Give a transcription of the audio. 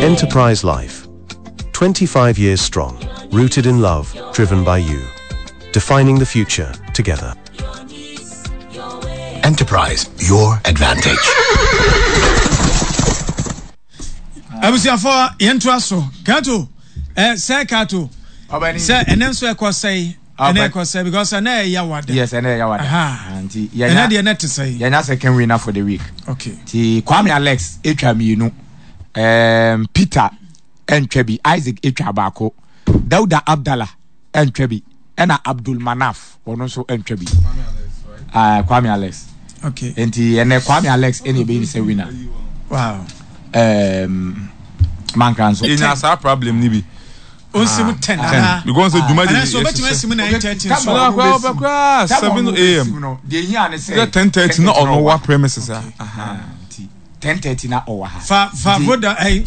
Enterprise Life. 25 years strong, rooted in love, driven by you. Defining the future together. Enterprise, your advantage. Abusuafo yɛntoa so. Kato, eh, sɛ Kato. Sɛ ɛnɛ nso ɛkɔ sɛe. Ɛnɛ ɛkɔ sɛe because ɛnɛ ɛyɛ wada. Yes, ɛnɛ ɛyɛ wada. Nti yɛnya ɛnɛ deɛ ɛnɛ te sɛe. Yɛnya second winner for the week. Okay. Nti Kwame Alex etwa mmienu. Um, Peter ɛntwa bi, Isaac etwa baako. Dauda Abdallah ɛntwa bi. Ɛna Abdul Manaf ɔno nso ɛntwa bi. Uh, Kwame Alex. Okay. Nti ɛnɛ Kwame Alex ɛna ɛbɛyi ne sɛ winner. Wow. Um, mankra nso. Yɛnya saa problem ni bi. Onsim ah, 10 ana. Because mm. dwuma de yɛ obetumi asim 9:30 nso. Ɔbɛ kura ɔbɛ kura 7 a.m. Deɛ ehia ne sɛ. 10:30 na ɔno wa premises a. 10:30 na ɔwɔ ha. Fa fa voda ɛyi.